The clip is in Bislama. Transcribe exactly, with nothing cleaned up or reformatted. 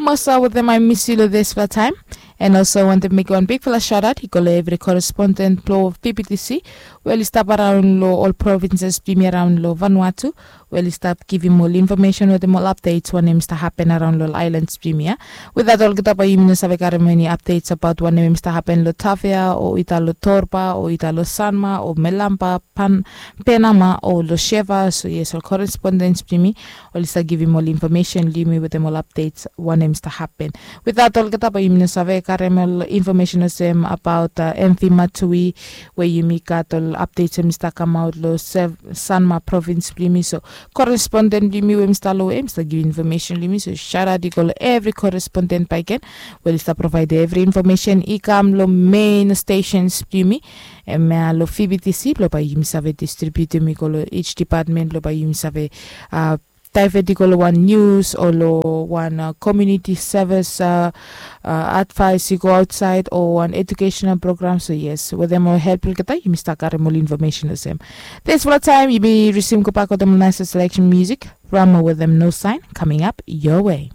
Masa wetem I miss you lo this fla time. And also I want to make one big fla shout out i go lo evri correspondent blo P P T C, we oli stap araun lo ol provinces blong yumi araun lo Vanuatu, we oli stap givim ol information wetem ol updates wanem i stap happen araun lo ol islands blong yumi ia. Without olgeta bae yumi no save karim eni updates about wanem i stap happen lo Tafea o ita lo Torba o ita lo Sanma o Melamba, Pan, Penama o lo Sheva. So yes, ol correspondents blong yumi oli stap givim ol information long yumi wetem ol updates wanem i stap happen. Without olgeta bae yumi no save karim ol information olsem about uh, M V Matui, we yumi gat ol updates em i stap kamaot lo Sev, Sanma province blong yumi. So correspondent blong yumi we mi stap lo em i stap givim information long yumi. So shout out i go lo evri correspondent bakegen we oli stap provide evri information i kam lo main stations blong yumi, em ia lo P P T C, blo bae yumi save distributim i go lo each department blo bae yumi save uh, divert i go lo wan news o lo wan uh, community service uh, uh, advice i go outside o wan educational program. So yes, wetem ol help olgeta yumi stap karim ol information olsem. Thanks fo taem, yumi resume gobak wetem ol nice selection music. Rama wetem No Sign coming up your way.